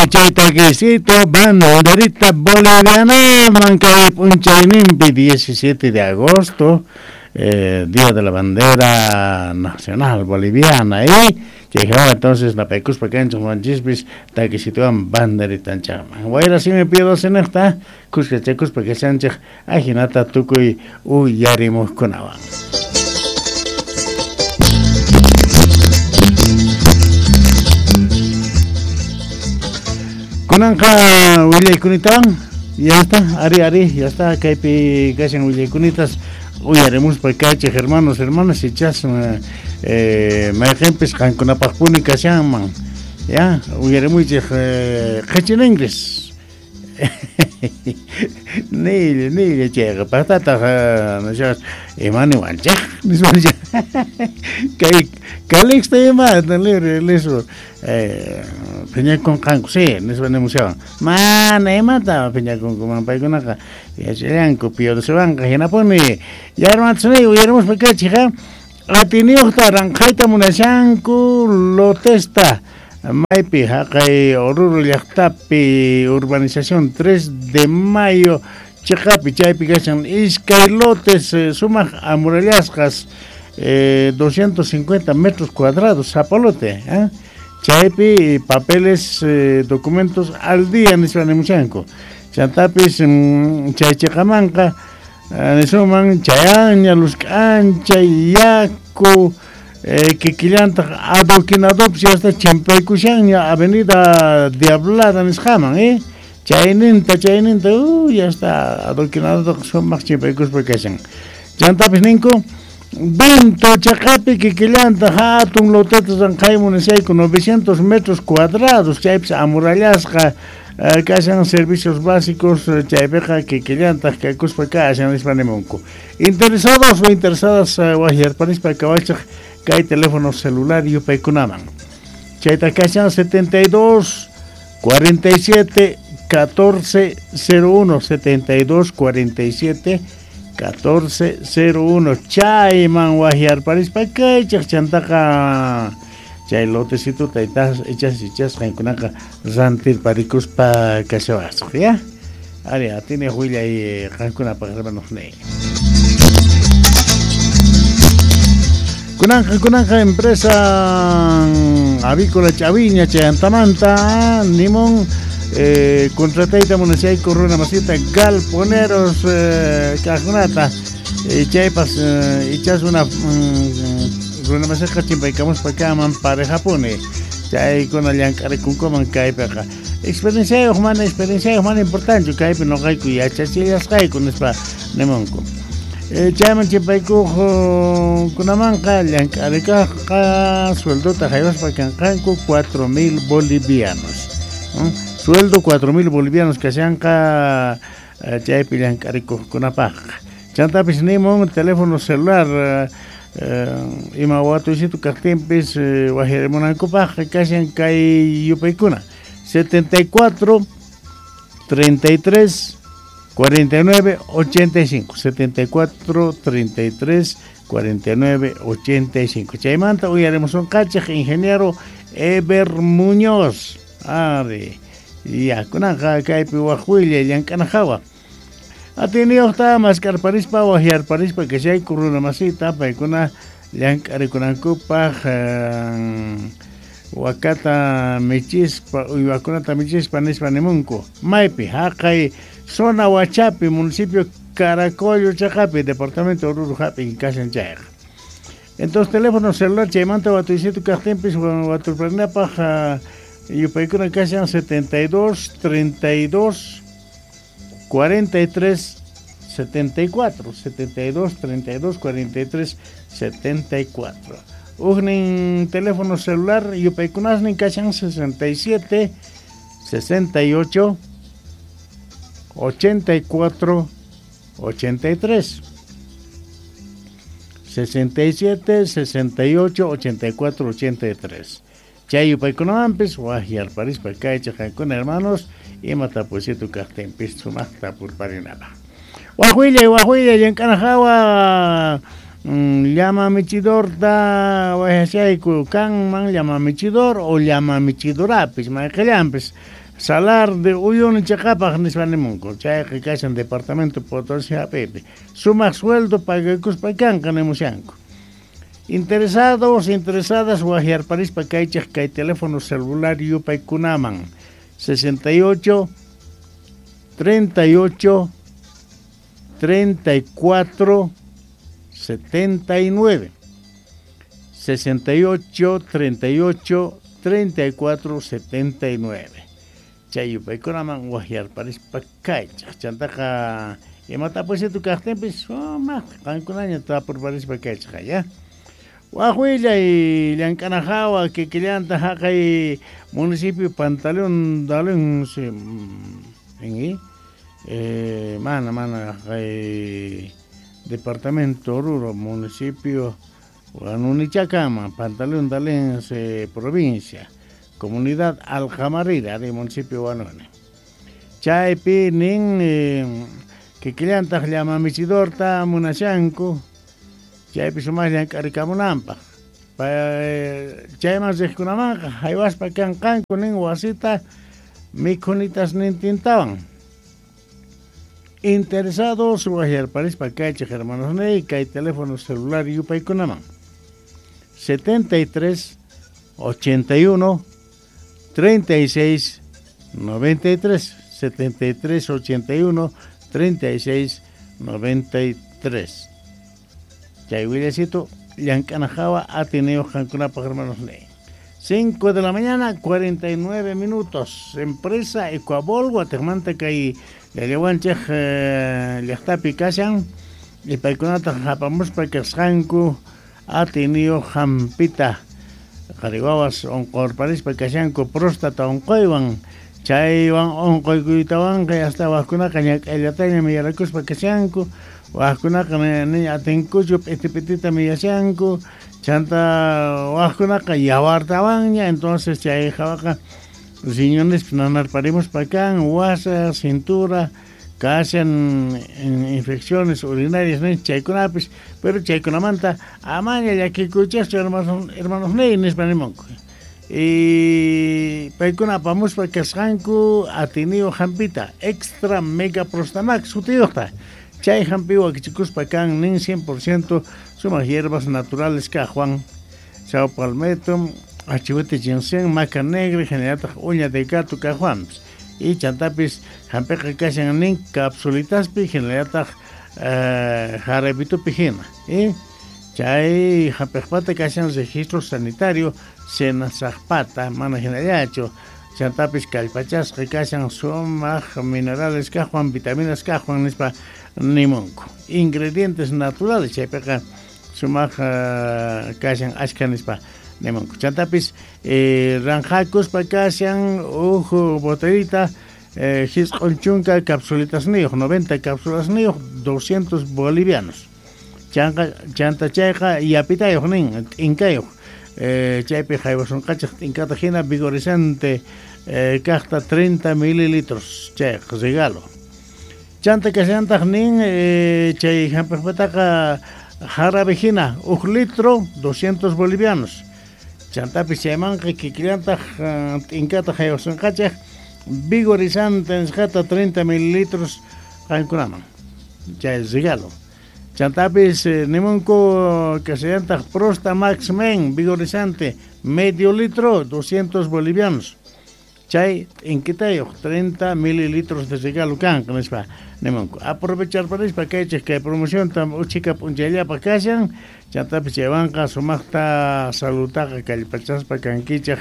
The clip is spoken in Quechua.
Chay taquecito banderita boliviana mankay p'unchayninpi 17 de agosto, Día de la Bandera Nacional Boliviana, y chay hawa entonces napaykuspa kanchik wanchispis taquecitowan banderitanchikman wayra simi piedosiniqta kuskachakuspa kashanchik ajinata tukuy uyarimuqkunawan. Kunanqa willaykunita ya está, ari ari, ya está, kaypi kashan willaykunitas uyarimuspa kaychik hermanos, hermanas, ichas mayqinpis qankunapaqpuni kashanman, ya, uyarimuychik qhichilingris. Nilla, nilla chayqa paqtataq nishas imaniwanchik nispa kay Calixto ima libre listo phiñakunqanku sí nispa nimushawan mana imata phiñakunkuman paykunaqa yachallanku piodosiwanqa hinapuni ya hermanos uyarimuspa kaychik atiniyuqta ranqhayta munashanku lotesta maypi haqay Oruro llaqtapi urbanización 3 de Mayo chiqapi chaypi kashan iskay lotes sumaq amurallasqas 250 metros cuadrados zapalote, chaypi papeles documentos al día nispa nimushanku chantapis chay chiqamanqa nisuman chayaña lusk'ancha yaku kikillantaq adoquinadopis hasta chimpaykushanña avenida Diablada nisqaman, chayninta chayninta ya está adoquinado sumaq chimpaykuspa kashan chantapis ninku Vinto chaqapi kikillantaq hatun loteta ranqhay munashayku 900 metros cuadrados chaypis amurallasqa kashan servicios básicos chaypiqa kikillantaq kakuspa kashan nispa nimunku. Interesados o interesadas waqyarpanispa kawachaq kay teléfono celular yupaykunaman chayta kashan 72 47 14 01 72 47 14 01 chayman waqyarparispa kaychaq chantaqa chay lotecito taytas ichas ichas qankunaqa rantirparikuspa kashawasaq ya ari atini willay qankunapaq hermanos ni kunanqa kunanqa empresa avícola Chaviña chayantamanta nimun contratayta munashayku runa masita galponeros kaqkunata chaypas ichas una runa masiqa chimpaykamuspa kaman parejapuni chaykuna llank'arikunkuman kaypiqa experienciayuq mana importante kaypi nuqayku yachachillasqayku nispa nimunku chayman chimpaykuq kunamanqa llank'arikaqqa sueldota haywaspa kanqanku 4000 bolivianos. Sueldo 4000 bolivianos kashanqa chaypi llank'arikuqkunapaqqa chantapis nimun teléfono celular ima watuysitu kaqtinpis waqyarimunankupaqqa kashan kay yupaykuna 74 33 49 85 74 33 49 85 chaymanta uyarimusunqachik ingeniero Eber Muñoz ari ya kunanqa kaypi waq willay llank'ana hawa atiniyuqta maskarparispa waqyarparispa kashayku runa masita paykuna llank'arikunankupaq wakata michispa uywakunata michispa nispa nimunku maypi haqay zona Huachapi municipio Caracollo chaqapi departamento Oruro hap'in kashan chayqa entonces teléfono celular chaymanta watuysitu kaqtinpis waturparinapaq yupaykuna kashan 72 32 43 74 72 32 43 74 Ujnin teléfono celular yupaykunasnin kashan 67 68 84 83 67 68 84 83 Chay yupaykunamanpis waqyarparispa kaychik qankuna hermanos ima tapuysitu kaqtinpis sumaqta purparinapaq waqwillay waqwillay llank'ana hawa llama michidorta waqyashayku kanman llama michidor o llama michidorapis mayqillanpis Salar de Uyuni chaqapaq nispa nimunku, chayqa kashan departamento Potosí hap'iypi. Sumaq sueldo pagakuspa kanqa nimushanku. Interesados, interesadas waqyarparispa kaychik kay teléfono celular yupaykunaman 68 38 34 79 68 38 34 79. Chay yupaykunaman waqyarparispa kaychik. Chantaqa imatapusitu kaqtinpis sumaq qankunaña tapurparispa kaychik ya. Waq willay llank'ana hawa kikillanta haqay municipio Pantaleón Dalén mana mana haqay departamento Oruro municipio Huanunichacama, Pantaleón Dalén provincia, comunidad Aljamarira de municipio Huanuni. Chaypi nin kikillantaq llama michidorta munashanku chaypi sumaq llank'arikamunanpaq. Chayman riqkunamanqa haywaspa kanqanku nin wasita mikhunitas nintintawan. Interesados waqyarparispa kaychik hermanos ney kay teléfono celular yupaykunaman 73 81 36 93 73 81 36 93. Chay willasito llank'ana hawa atiniyuq qankunapaq hermanos ney. 5 de la mañana, 49 minutos. Empresa Ecuabol, Guatemala kay llallawanchik llaqtapi kashan y paykunata hapamuspa kasqanku atiniyuq hampita qhari wawas unqurparispa kashanku próstata unquywan chaywan unquykuytawanqa hasta waqkunaqa ñak'ayllataña miyarakuspa kashanku waqkunaqa ni atinkuchu p'iti p'itita miyashanku chanta waqkunaqa yawartawanña entonces chay hawaqa riñones nanarparimuspa kan wasa cintura kashan infecciones urinarias nin chaykunapis pero chaykunamanta amaña llakikuychaschu hermanos hermanos ney nispa nimunku y paykuna apamuspa kasqanku atiniyuq hampita extra mega prostamax sutiyuqta chay hampi wakichikuspa kan nin 100% sumaq hierbas naturales kaqwan saw palmetto achihuete ginseng maca negra hinallataq uña de gato kaqwanpis y chantapis hampiqa kashan nin capsulitaspi hinallataq jarabitupi hina y chay hampiqpata kashan registro sanitario senasaqpata mana hinallachu chantapis kallpachasqa kashan sumaq minerales kaqwan vitaminas kaqwan nispa nimunku ingredientes naturales chaypiqa sumaq kashan achka nispa nimunku chantapis ranjakuspa kashan huk botellita hisq'un chunka capsulitasniyuq 90 cápsulasniyuq 200 bolivianos chanqa chanta chayqa yapitayuq nin t'inkayuq chaypi haywasunqachik t'inkata hina vigorizante kaqta 30 mililitros chayqa regalo chanta kashantaq nin chay hampiqpataqa jarabe hina huk litro 200 bolivianos chantapis chaymanqa kikillantaq t'inkata haywasunqachik vigorizante nisqata 30 mililitros qankunaman chay regalo chantapis nimunku kashallantaq Prosta Max Men vigorizante medio litro 200 bolivianos chay t'inkitayuq 30 mililitros de regalo kanqa nispa nimunku aprovecharparispa kaychik kay promocionta uchika p'unchayllapaq kashan chantapis chaywanqa sumaqta saludtaqa kallpachaspa kankichik.